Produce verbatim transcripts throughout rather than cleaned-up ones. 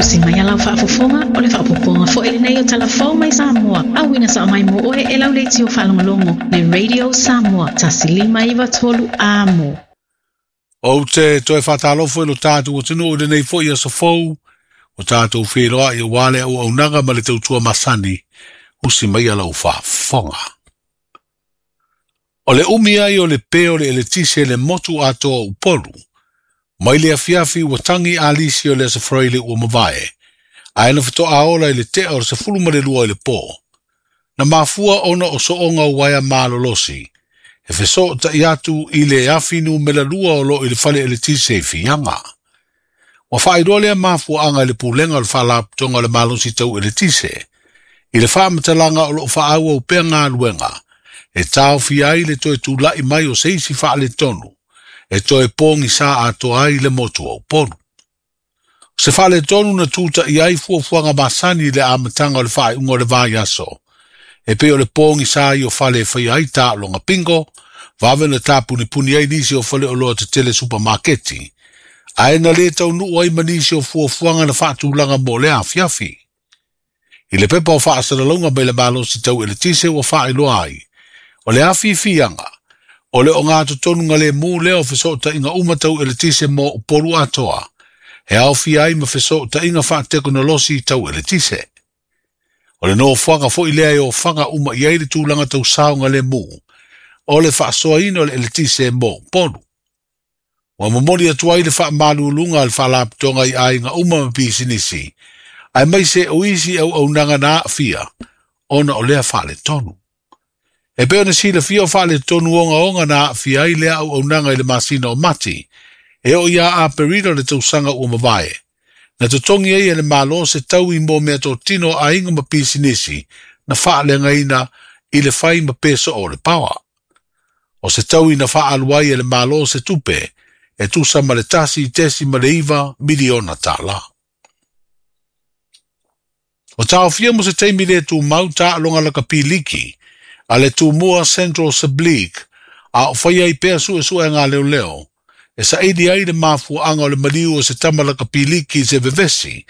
Usi mai a lau faafofoga o le faaopoopoga foi lenei o Talafou mai Samoa. Auina sao mai mo oe e lau leitio faalogologo le Radio Samoa tasi lima iva tolu amo. Ou te toe faatalofa i lo tatou atunuu i lenei foi aso fou, o tatou feiloai aua le auaunaga ma le tautua masani, usi mai a lau faafofoga. O le umi ai o le pe o le eletise le motu atoa o Upolu, mai le afiafi ua tagi alisi o le aso Faraile ua mavae, ae na faatoa ola i le tea o le sefulu ma le lua i le po. Na mafua ona o sooga o uaea malolosi, e fesoʻotaʻi atu i le afi numera lua o loo i le fale eletise i Fiaga. Ua faailoa lea mafuaaga i le pulega o le faalapotopotoga o le malosi tau eletise, i le faamatalaga o loo faaauau pea galuega, e taofia ai le toe tulaʻi mai o se isi faaletonu, e toe pogisa atoa ai le motu o Upolu. O se faaletonu na tutaʻi ai fuafuaga masani i le amataga o le faaiuga o le vaiaso, e pei o le pogisa ai o fale e faia ai taaloga bingo, vave na tapunipuni ai nisi o fale oloa tetele supamaketi, ae na lē taunuu ai ma nisi o fuafuaga na faatulaga mo lea afiafi. I le pepa o faasalalauga mai le malosi tau eletise ua faailoa ai, o le afi i Fiaga, o le ogatotonu lemu lea o fesoʻotaʻiga uma tau eletise mo Upolu atoa, e aofia ai ma fesoʻotaʻiga faatekonolosi tau eletise. O le nofoaga foi lea e ofaga uma i ai le tulaga tau saoga lemu, o le faasoaina o le eletise mo Upolu. Ua momoli atu ai le faamaluluga a le faalapotopotoga i aiga uma ma pisinisi, aemaise o isi auaunaga na aafia, ona o lea faaletonu. E pei ona silafia o faaletonu ogaoga na aafia ai lea auaunaga i le masina o Mati, e oo ia Aperila le tausaga ua mavae, na totogi ai e le Malo se taui mo meatotino o aiga ma pisinisi na faaleagaina i le fai ma pesoo o le paoa. O se taui na faaalu ai e le Malo se tupe, e tusa ma le tasi tesi ma le iva miliona tālā. O taofia mo se taimi le tumau taaloga lakapi liki, a le Tumua Central Sub-League, a o faia ai pea suesuega a leoleo, e saili ai le mafuaaga o le maliu o se tama lakapi liki i se vevesi,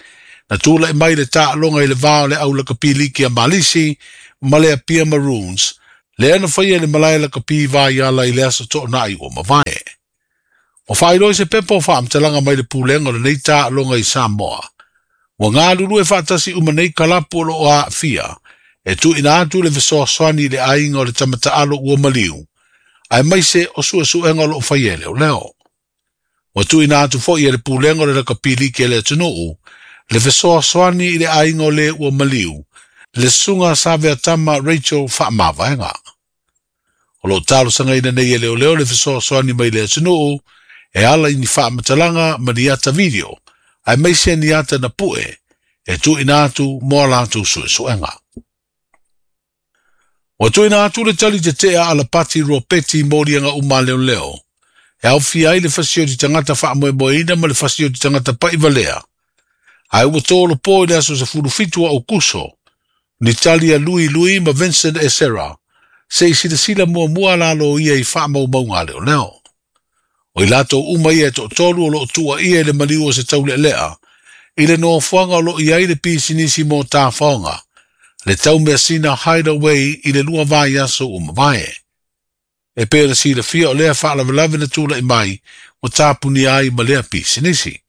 na tulaʻi mai le taaloga i le va o le au lakapi liki a Malisi ma le Apia Maroons, lea na faia i le malae lakapi Vaiala i le aso Toonai ua mavae. Ua faailoa i se pepa o faamatalaga mai le pulega o lenei taaloga i Samoa, ua galulue faatasi uma nei kalapu o loo aafia, e tuuina atu le fesoasoani i le aiga o le tama taalo ua maliu, aemaise o suesuega o loo faia e leoleo. Ua tuuina atu foi e le pulega o le lakapi liki a le atunuu, le fesoasoani i le aiga o le ua maliu, le susuga Saveatama Rachel Faamavaega. O loo talosagaina nei e leoleo le fesoasoani mai le atunuu, e ala i ni faamatalaga ma ni ata video, aemaise ni ata na pue, e tuuina atu mo a latou suesuega. Ua tuuina atu le tali tetea a Alapati Ropeti i moliaga uma a leoleo, e aofia ai le fasioti tagata faamoemoeina ma le fasioti tagata paʻivalea, ae ua tolopo i le aso sefulu fitu o Aukuso, ni tali a Lui Lui ma Vincent Esera, se i silasila muamua a lalo ia i faamaumauga a leoleo. O i latou uma ia e toatolu o loo tuuaia i le maliu o se taulealea, i le nofoaga o loo i ai le pisinisi mo tafaoga, le taumeasina Hideaway i le lua vaiaso ua mavae. E pei ona silafia o lea faalavelave na tulaʻi mai ua tapunia ai ma lea pisinisi.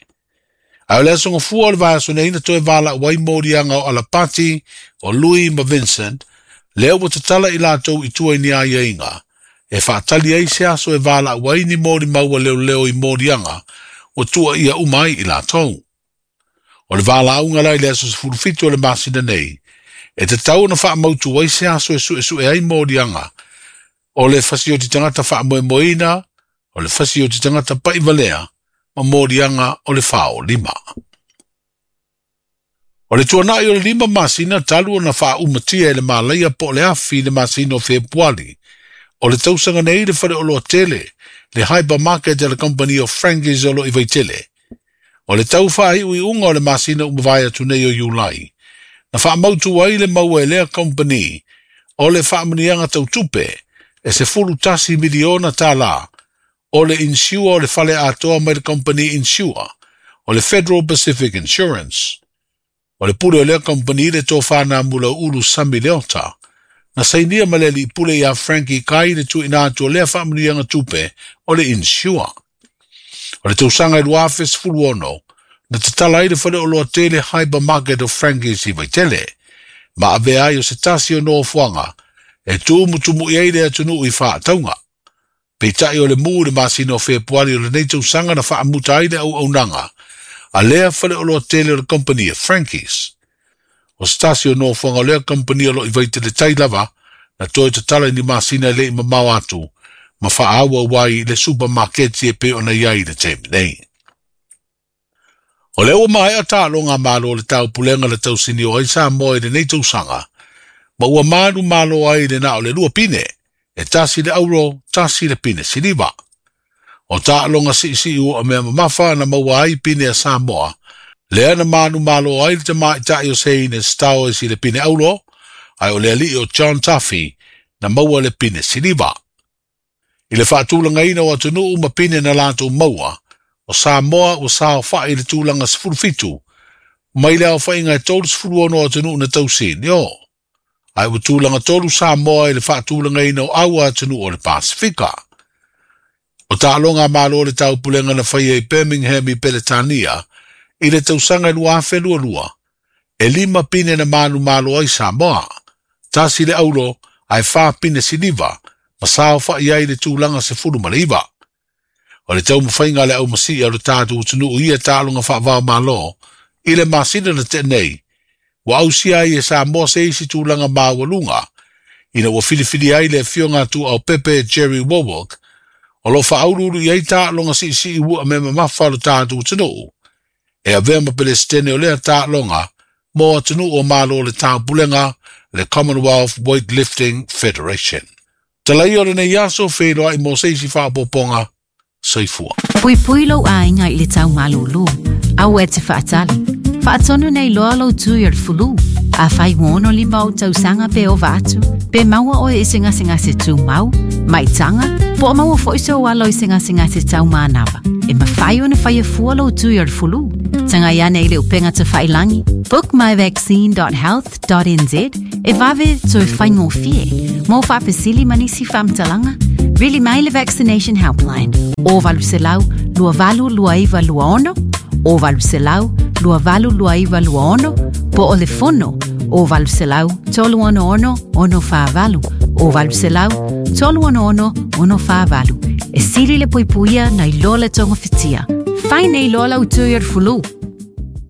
Ae o le aso Gafua o le vaiaso nei na toe valaau ai moliaga o Alapati, o Lui ma Vincent, lea ua tatala i latou i tua i ni aiaiga, e faatali ai se aso e valaau ai ni molimau a leoleo i moliaga ua tuuaia uma ai i latou. O le valaauga la i le aso sefulu fitu o le masina nei, e tatau ona faamautu ai se aso e suesue ai moliaga, o le fasioti tagata faamoemoeina, o le fasioti tagata paʻivalea, ma moliaga o le faolima. O le tuanaʻi o le lima masina talu ona faaumatia e le malaia po o le afi i le masina o Fepuali, o le tausaga nei le faleoloa tele, le hypermarket a le kamupani o Frankie's o loo i Vaitele. O le tau faaiuiuga o le masina ua mavae atu nei o Iulai, na faamautu ai le maua e lea kamupani o le faamanuiaga tautupe e sefulu tasi miliona tālā, o le insure o le fale atoa mai le kamupani insure o le Federal Pacific Insurance. O le pule o lea kompani le tofā Namulau'ulu Sami Leota, na sainia ma le alii pule iā Frankie Kai le tuuina atu o lea faamanuiaga tupe o le insure. O le tausaga e lua afe sefulu ono, na tatala ai le faleoloa tele Hypermarket o Frankie's i Vaitele, ma avea ai o se tasi o nofoaga e tumutumu'i ai le atunuu i faatauga. Peitai o le mu i le masina o Fepuari o lenei tausaga na faamuta ai le auaunaga a lea faleoloa tele o le kompani a Frankie's. O se tasi o nofoaga o lea kompani o loo i Vaitele tai lava na toe tatala i ni masina e le'i mamao atu ma faaauau ai le supamaketi e pei ona i ai i le taimi nei. O lea ua maea taaloga a Malo o le Taupulega na tausinio ai Samoa i lenei tausaga, ma ua manumalo ai le na o le lua pine, e tasi le auro, tasi le pine siliva. O taaloga siisii ua mea mamafa na maua ai pine a Samoa, lea na manumalo ai le tamaita'i o Seine Stowers i le pine auro, ae o le alii o John Duffy na maua le pine siliva. I le faatulagaina o atunuu ma pine na latou maua, o Samoa ua saofa'i i le tulaga sefulu fitu, mai le aofaiga e tolu sefulu ono atunuu na tausinio. Ae ua tulaga tolu Samoa i le faatulagaina o aua atunuu o le Pasifika. O taaloga a Malo o le Taupulega na faia i Birmingham i Peretania i le tausaga e lua afe lua lua, e lima pine na manumalo ai Samoa, tasi le auro ae fa pine siliva, ma saofa'i ai le tulaga sefulu ma le iva. O le taumafaiga a le aumasi'i o le tatou atunuu i ia taaloga faavao malo i le masina na tea nei, ua ausia ai e Samoa se isi tulaga maualuga, ina ua filifilia ai le afioga a Tuuaupepe Jerry Wallwork, o loo faauluulu i ai taaloga siisii ua mea mamafa o le tatou atunuu, e avea ma Pelesitene o lea taaloga mo atunuu o Malo o le Taupulega, le Commonwealth Weightlifting Federation. Talaia o lenei aso feiloai mo se isi faaopoopoga. Soifua. Puipui lou aiga i le tau malūlū. Aua e te faatali. Faatonu nei loa lou tui o le fulu. Afai ua ono lima ou tausaga pe ova atu, pe maua oe i se gasegase tumau, maitaga, po o maua foi sou alo i se gasegase taumanava, e mafai ona faia fua lou tui o le fulu. Tagai ane i le upega tafailagi book my vaccine dot health dot n z e vave toe faigofie. Mo faafesili ma nisi faamatalaga, vili mai le Vaccination Helpline o valu selau lua valu lua iva lua ono, o valu selau lua valu lua iva lua ono, po o le fono o valu selau tolu ono ono ono fa valu, o valu selau tolu ono ono ono fa valu. E sili le puipuia nai loa le tonga fitia. Fai nei loa lau tui o le fulu.